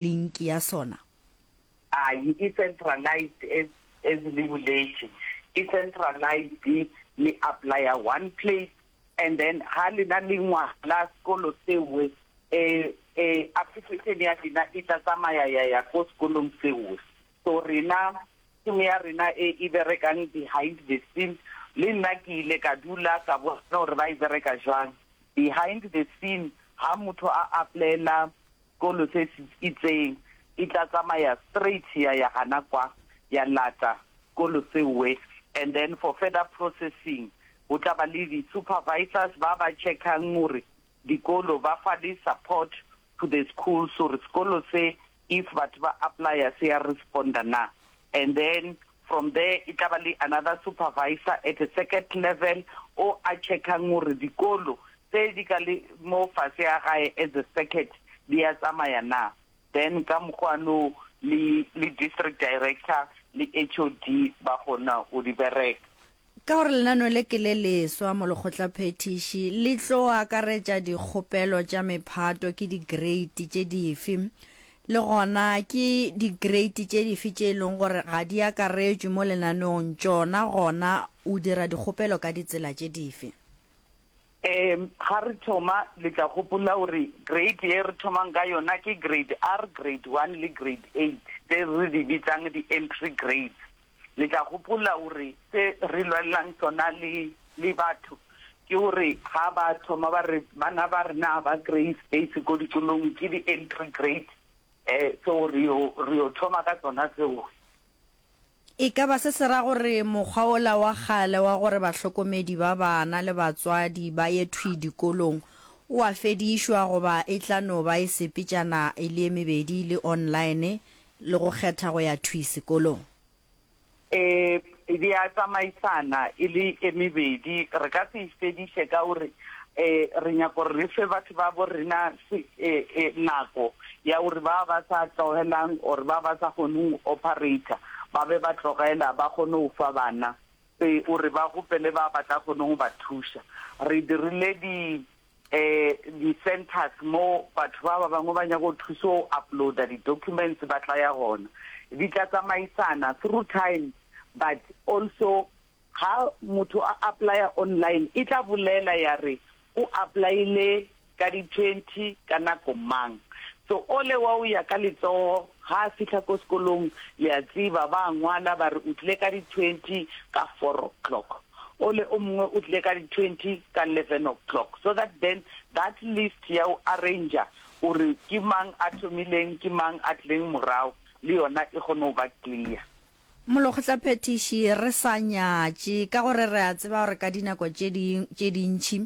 Link ya sona? Ayi, e centralized as as le boletše. E centralized, le applya one place and then ha lena le ngwala sekolo sewe eh eh application ya lena e tla tsamaya ya ya ko sekolong sewe. So rena team ya rena e e berekang behind the scene le nna ke ile ka dula ka bona gore ba e bereka jwang. Behind the scene ha motho a applyela Sekolo se se itseng, e tla tsamaya straight ya ya gana kwa, ya lata sekolo seowe and then for further processing go tla ba le di supervisors ba ba checkang gore dikolo ba fa le support to the schools gore sekolo se if batho ba applya se ya responda na and then from there e tla ba le another supervisor at a second level o a checkang gore dikolo tse di ka le mo fase ya gae as a circuit di a tsamaya na then ka mokgwa no le le district director le HOD ba kgona go di bereka. Ka gore lenaneo le ke le leswa mo lekgotlaphethiši, le tlo akaretša dikgopelo tša mephato ke dikreiti tše dife? Le gona ke dikreiti tše dife tše e leng gore ga di akaretšwe mo lenaneong tšona gona o dira dikgopelo ka ditsela tše dife? Um ga re thoma, le tla gopola gore grade ye re thomang ka yona ke grade R, grade one le grade eight, tse re di bitsang di-entry grades. Le tla gopola gore se re lwelelang sona le le batho ke gore ga ba thoma ba re bana ba rena ga ba kry-e space ko dikolong ke di-entry grade um so re yo re yo thoma ka tsona tseo. E ka ba se se ra gore mokgwa wola wa kgale wa gore bahlokomedi ba bana le batswadi ba ye thwi dikolong o a fedišwa goba e tla no ba e sepetšana e le e mebedi le online le go kgetha go ya thwi sekolong? E, di a tsamaisana e le e mebedi. Re ka se e fediše ka gore e, re nyaka gore re fe batho ba bo rena se, e, e, nako ya gore ba ba sa tlogelang or ba ba sa kgoneng go operator ba be ba tlogela ba kgone go fa bana e, gore ba gopele ba ba tla kgoneng go ba thuša. Re dirile di eh di-centers mo batho ba ba bangwe ba nyaka go thuso go uploada di-documents ba tla ya gona. Di tla tsamaisana through time but also ha motho a applya online e tla bolela ya re o applyile ka di-twenty ka nako mang. So ole wa o ya ka letsogo ga a fihla ko sekolong le a tseba ba ngwala ba re o tlile ka di-twenty ka four o'clock. Ole o mongwe o tlile ka di 20 ka 11 o'clock so that then that list ya o arranger gore ke mang a thomileng ke mang a tlileng morago le yona e kgone go ba clear. Molekgotlaphethiši, re sa nyatše, ka gore re a tseba gore ka dinako tše di, tše dintši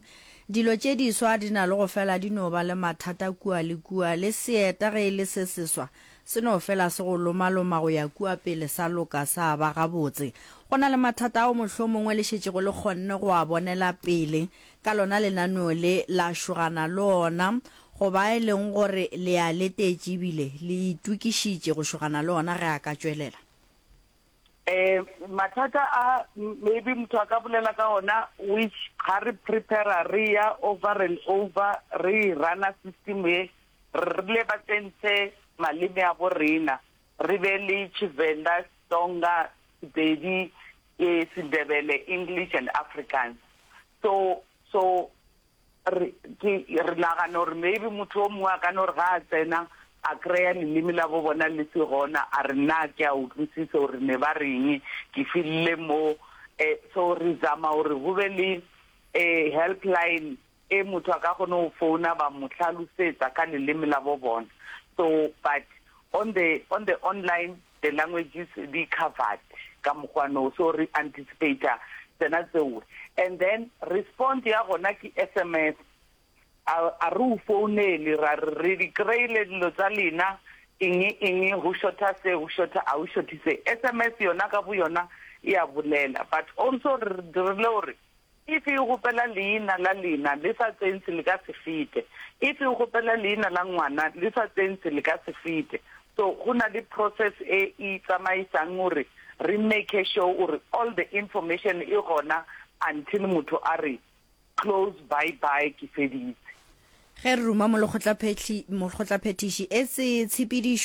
dilo tše diswa di na le go fela di no ba le mathata kua le kua, le seeta ge e le se seswa Se no fela se go lomaloma go ya kua pele sa loka sa ba gabotse. Go na le mathata ao mohlomongwe le šetšego le kgonne go a bonela pele ka lona lenaneo le la šogana le ona goba e leng gore le a letetše ebile le itokišitše go šogana le ona ge a ka tšwelela. Um mathata a maybe motho a ka bolela ka ona which ga re prepare re ya over and over re e rana system ye Re rile ba tsentshe maleme a bo rena, re be le Tshivenda, Setsonga, Sepedi, Sendebele, English and Afrikaans. So, so re, ke, re nagana gore maybe motho o mongwe a ka no re ga a tsena a kry-a leleme la bo bona le se gona, a re nna ke a utlwisisa gore ne ba reng, ke fellile mo. Eh, so re zama gore go be le eh, helpline e motho a ka kgone go founa ba mo hlalosetsa ka leleme la bo bona. So but on the on the online the languages di covered ka mokgwa no, so re anticipate-a tsena tseo. And then response ya gona ke SMS, a a re o founele ra re re di kry-ile dilo tsa lena eng eng go shorta se go shorta a go shorte se. SMS yona ka bo yona e a bolela but also re dirile gore If e gopela leina la lena le sa tsentshe le ka se fete. If e gopela leina la ngwana le sa tsentshe le ka se fete. So go na le process e e tsamaisang gore re make sure gore all the information e gona until motho a re close bye bye ke feditse. Ge re ruma molekgotlaphethiši, etse tshepedišo.